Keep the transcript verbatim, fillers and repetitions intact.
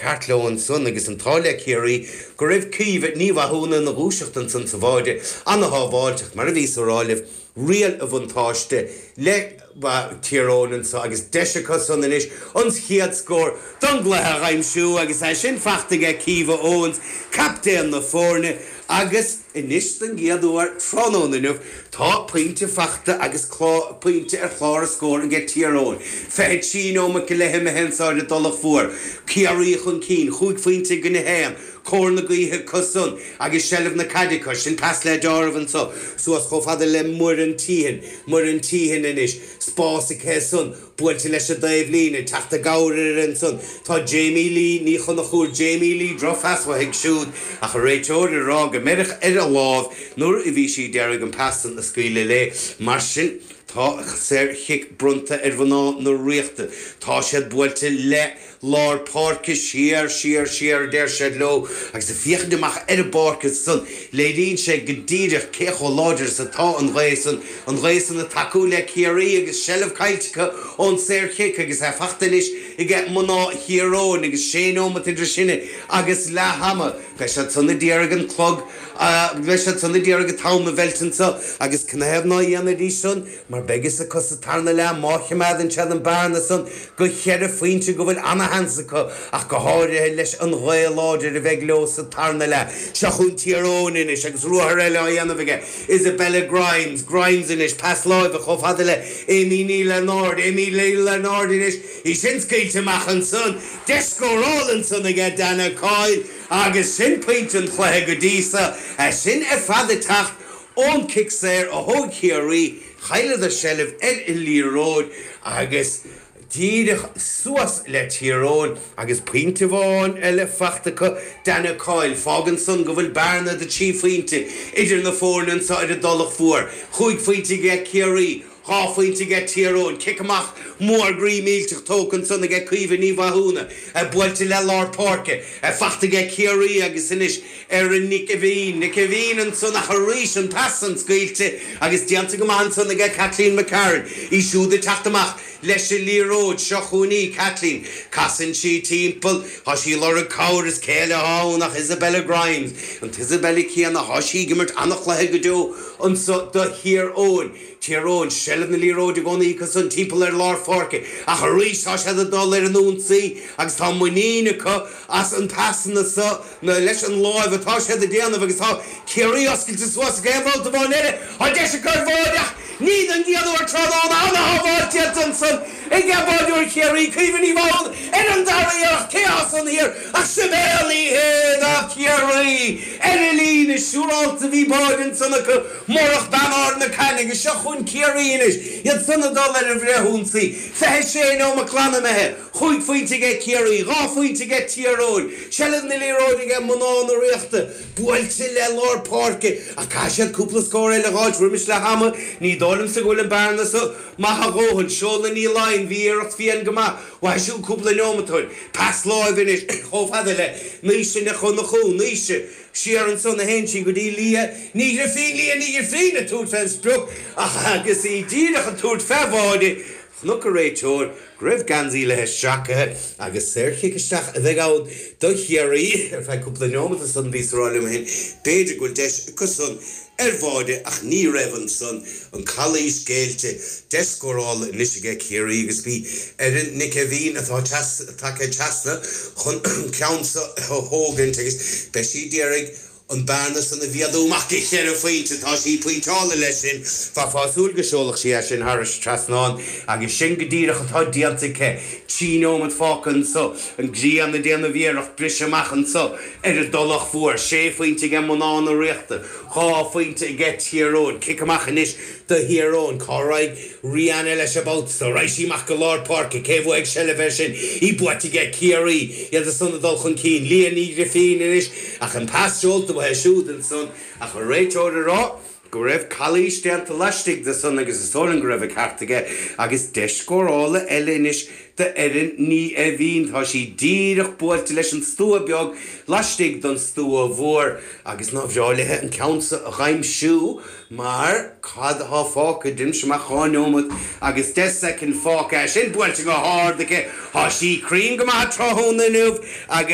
ceart leo ansan agus an t-ádh le Ciarraí go raibh Caoimhe Ní Mhathúna ina dhúiseacht ansan sa bháide an-shábháilteach mar a bhíos a rá libh riail an bhuntáiste le Tír Eoghain anso agus deis acu san anois an chéad scór don gcluiche a aimsiú agus é sin fachta ag Caoimhe Owens, captaen na foirne agus anois den gcéad uair tráthnóna inniu tá pointe fachta agus pointe ar chlár na scór ag Tír Eoghain. Fiche trí nóiméad go leith imithe anso ar an dTulach Mhór. Ciarraí chun cinn, chúig phointe i gcoinne a haon, cóir na gaoithe acu san agus seilbh na caide acu, sin pas le deáramh anso suas chomh fada le Muireann Teehan, Muireann Teehan anois, spás aici san, buailte leis an dtaobhlíne, teacht i gcabhair uirthi ansan tá Jamie Lee Ní Chonchúir, Jamie Lee, drochphas uaithi siúd ach an réiteoir ag rá go mbeireadh ar a lámh nuair a bhí sí d'iarraidh an pas san a scaoileadh léi. Mar sin tá saorchic bronnta ar mhná na Ríochta. Tá siad buailte le lár páirce, siar, siar, siar, a deir siad leo, agus ag féachaint amach ar an bpáirc ansan, léiríonn sé go díreach cé chomh láidir is atá an ghaoth san, an ghaoth san ag tacú le Ciarraí agus seilbh caillte acu ón saorchic agus é fachta anois ag mná Thír Eoghain agus sé nóimeat idir sinne agus leath ama. Beidh siad san ag iarraidh an clog, beidh siad san ag iarraidh an t-am a mheilt anso agus canathaobh ná dhéanfaidís san mar beidh fhios acu sa tarna leath má choimeádann siad an bearna san go cheithre phointe go bhfuil ana-sheans acu ach go háirithe leis an ghaoth láidir a bheidh leo sa tarna leath. Seo chugainn Tír Eoghain anois agus ruathar eile á dhéanamh aige Isabella Grimes, Grimes anois, pas láimhe chomh fada le Amy Ní Lionáird, Amy Ní Lionáird anois, í sin scaoilte amach ansan, deis scórála ansan aige Dana Coyle agus sin pointe an chluiche go dtí so, é sin ar fad ag teacht ón cic saor a thóg Ciarraí, chailleadar seilbh ar an liathróid agus díreach suas le Tír Eoghain agus pointe amháin eile fachta acu, Dana Coyle, fágann san go bhfuil bearna de trí phointe idir na foirne anso ar an dTulach Mhór, chúig phointe aige Ciarraí. Dhá phointe aige Tír Eoghain. Cic amach mór groí millteach tógtha ansan aige Caoimhe Ní Mhathúna, buailte le lár páirce, fachta aige Ciarraí agus anois Erin Nic Aibhín. Nic Aibhín ansan ach arís an pas san scaoilte agus déanta go maith ansan aige Kathleen McCarron. Í siúd ag teacht amach leis an liathróid. Seo chugainn í, Kathleen. Casann sí timpeall. Tá sí ag lorg cabhair is cé eile atá ann ach Isabella Grimes. An t-Isabella céanna, tá sí ag imirt an-chluiche go deo anso do Thír Eoghain. Tír Eoghain, seilbh na liathróide i gcónaí acu san timpeall ar lár pháirce ach arís tá siad ag dul ar an ionsaí agus tá muinín acu as an pasanna so na leis an láimh atá siad ag déanamh agus tá Ciarraí oscailte suas ag aon bhabhta amháin eile. Tá deis acu ar bháide ach ní don gcéad uair tráthnóna ana-shábháil déanta ansan ag báideoir Chiarraí, Caoimhe Ní Mhathúna ar an dara iarracht cé atá san thiar ach Sibéal Ní Shéaghdha do Chiarraí ar an líne siúrálta bhí báide ansan acu murach bean Ard na Caithne agus seo chugainn Ciarraí anois, iad san ag dul ar an bhfrithionsaí. Fiche sé nóimeat glan imithe, chúig phointe aige Ciarraí, dhá phointe aige Tír Eoghain, seilbh na liathróide aige mná na Ríochta, buailte le lár páirce ach caithfidh siad cúpla scór eile a dh'fháilt roimis leath ama. Ní dóigh liomsa go bhfuil an bearna so maith a dhóthain. Seolann Ní Laighin, bhí iarracht fiáin go maith uaithi siúd cúpla neomat ó shin. Pas láimhe anois chomh fada le Naoise Nic Dhonnchú, Naoise. Siar ansan a théann sí go dtí Lia Ní Ghrifín, Lia Ní Ghrifín ag tabhairt fén sprioc ach agus í díreach ag tabhairt fé bháide, chonaic an réiteoir go raibh geansaí léi sracaithe agus saorchic isteach a bheidh ann do Chiarraí ar feadh cúpla neomat ansan bhíos ag rá liom féin b'fhéidir go bhfuil deis acu san ar bháide ach ní raibh ansan, an calaois géillte, deis scórála anois aige Ciarraí agus bhí Erin Nic Aibhín atá tagtha trasna chun an ceann seo a thógaint agus beidh sí d'iarraidh an bearna san a mhéadú amach go cheithre phointe. Tá sí pointeáilte leis sin. Bheifeá ag súil go seolfadh sí é sin thairis trasnán agus sin go díreach atá déanta aici. Trí nóiméad fágtha anso. An ghrian ag déanamh iarracht briseadh amach anso ar an dTulach Mhór. Sé phointe aige mná na Ríochta. Dhá phointe aige Tír Eoghain. Cic amach anois do Thír Eoghain. Cá raghaidh Rihanna leis an babhta so? Raghaidh sí amach go lár páirce. Cé bhuafaidh seilbh air sin? Í buaite aige Ciarraí. Iad san ag dul chun cinn. Leah Ní Ghrifín anois ach an pas seolta uaithi siúd ansan ach an réiteoir ag rá go raibh calaois déanta laistigh de san agus is dóigh liom go raibh an ceart aige agus deis scórála eile anois d'Erin Ní Eimhín. Tá sí díreach buailte leis an stua beag laistigh den stua mhór agus nár bhreá léi an ceann so a dh'aimsiú mar cad atá fágtha? Deinimse amach dhá neomat agus deich soicind fágtha. É sin buailte go hard aici. Tá sí cruinn go maith tráthnóna inniu agus.